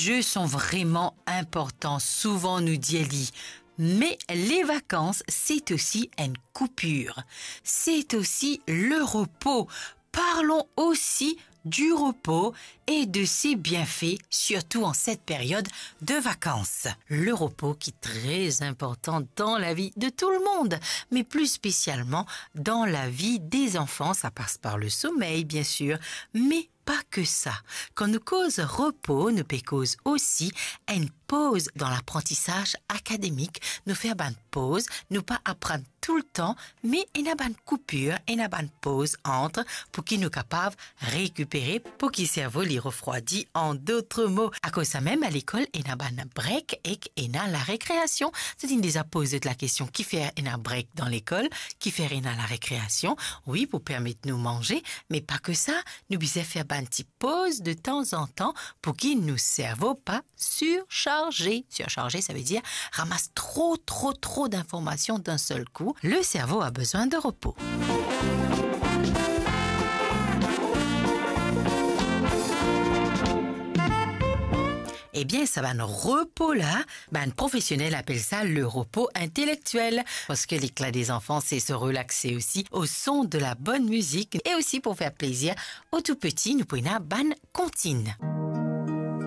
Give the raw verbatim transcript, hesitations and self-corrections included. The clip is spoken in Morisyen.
De son vreman inportan, souvan nou dir li. Me les vacances, c'est aussi une coupure. C'est aussi le repos. Parlons aussi du repos et de ses bienfaits, surtout en cette période de vacances. Le repos qui est très important dans la vie de tout le monde, mais plus spécialement dans la vie des enfants. Ça passe par le sommeil, bien sûr, mais pas que ça. Kan nou koz repo, nou pe koz osi enn poz dan laprantisaz akademik. Nou fer bann poz, nou pa aprann toultan, me ena bann koupir, ena bann poz ant, pou ki nou kapav rekipere, pou ki servo li refrwadi, an dot mo. Akoz samem, a lekol, ena bann break ek ena larekreasion. Zot inn deza poz zot lakestion, kifer ena break dan lekol, kifer ena larekreasion? Wi, pou permet nou manze, me pa ke sa, nou bizin fer bann ti poz de tanzantan pou ki nou servo pa sirsarze. Sirsarze, sa ve dir ramas tro, tro, tro dinformasion dan sel kou. Le servo a bezwin de repo. Ebien, sa bann repo la, bann profesionel apel sa le repo intelektiel, parski lekla dezanfan, se se relaxe osi au son de la bonne musique e osi pou fer plezir aux tout petits, nou pou ena bann kontin.